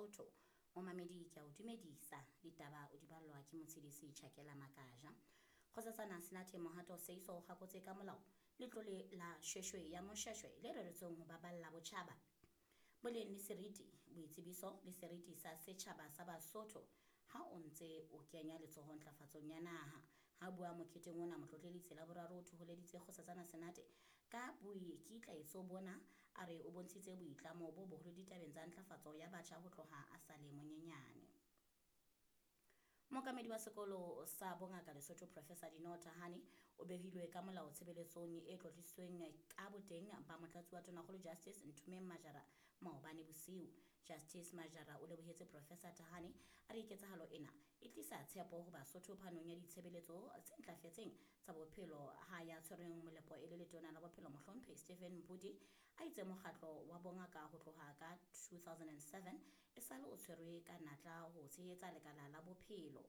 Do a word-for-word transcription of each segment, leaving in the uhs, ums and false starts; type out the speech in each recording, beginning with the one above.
Basotho. Momamedi ke a o dumedisa, ditaba o di ballwa ke Motshedisi Tjhakela Makaja. Kgosatsana Senate Mohato Seiso o kgakotse ka molao letlole la Shweshwe ya Moshweshwe le reretsweng ho baballa botjhaba, boleng le seriti, boitsebiso le seriti sa setjhaba sa Basotho ha o ntse o kenya letsoho ntlafatsong ya naha. Ha bua moketeng ona, Motlotlelitse Laboraro o thoholeditse Kgosatsana Senate ka boikitlaetso bona, a re o bontshitse boitlamo bo boholo ditabeng tsa ntlafatso ya batjha ho tloha a sa le monyenyane. Mookamedi wa sekolo sa bongaka Lesotho Professor Dineo Tahane o behilwe ka molao tshebeletsong e tlotlisitsweng ka boteng ba motlatsi wa Tonakgolo Justice Nthumeng Majara maobane bosiu. Justice Majara o lebohetse Professor Tahane, a re ketsahalo ena e tlisa tshepo ho Basotho phanong ya ditshebeletso tse ntlafetseng tsa bophelo ha ya tshwereng molepo e le letona la bophelo Mohlomphehi Stephen Mphuti a itse mokgatlo wa bongaka ho tloha ka two thousand and seven e sale o tshwerwe ka natla ho tshehetsa lekala la bophelo.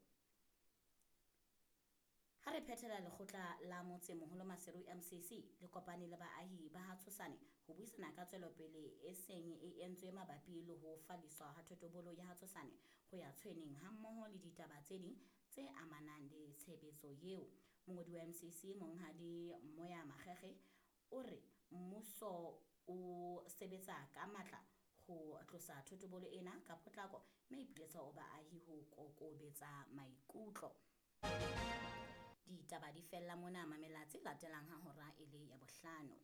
Ha re phethela, lekgotla la motsemoholo Maseru M C C le kopane le baahi ba ha Tshosane ho buisana ka tswelopele e seng e entswe mabapi le ho falliswa ha thotobolo ya ha Tshosane ho ya Tshweneng hammoho le ditaba tse ding tse amanang le tshebetso eo. Mongodi wa M C C Monghadi Moya Makgekge o re mmuso o sebetsa ka matla ho tlosa thotobolo ena ka potlako mme ipiletsa ho baahi ho kokobetsa maikutlo. Ditaba di fella mona, mamela tse latelang ha hora e le ya bohlano.